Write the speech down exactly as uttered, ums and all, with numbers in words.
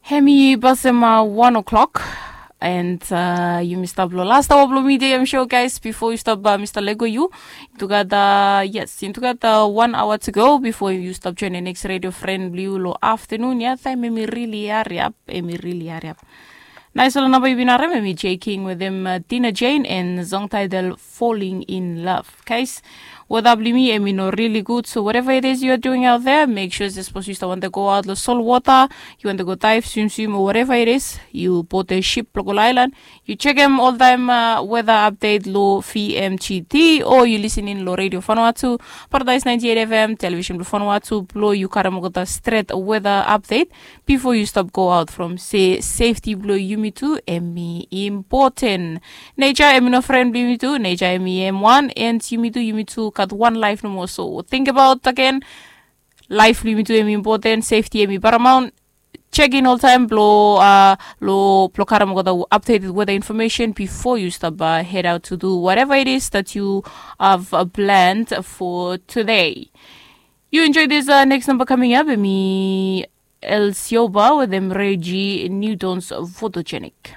Hemi pasem wan o'clock. And uh, yumi stap lo last hour blo mi de em show, guys, before yu stop uh, Mr. Lego, yu tugada, yes, in tugada one hour to go before yu stop join the next radio friend blo yu lo afternoon ya. Time emi really hurry up, emi really hurry up. Nice ol namba yu bin harem, emi J King with him uh, Dina Jane and song title Falling in Love. Guys, weather bli mi emi no really good, so whatever it is you are doing out there, make sure se sapos yu stap wante go out lo salt water, yu wante go dive, swim swim or whatever it is, yu bote ship lo go lo island, yu chekem oltaem uh, weather update lo V M G T, o yu listening lo Radio Vanuatu, Paradise ninety-eight F M, Television blo Vanuatu, blo yu karem olgeta stret weather update before yu stop go out from se safety blo yumi tu emi important. Nature emi no friend blo yumi tu, nature emi M one, and yumi tu, yumi tu gat wan life nomo, so think about again. Life blo yumi tu emi important, safety emi paramount. Check in oltaem blo uh, lo blo karem olgeta updated weather information before you stop uh, head out to do whatever it is that you have uh, planned for today. You enjoy this uh, next number coming up, emi El Sioba with them Reggie Newton's Photogenic.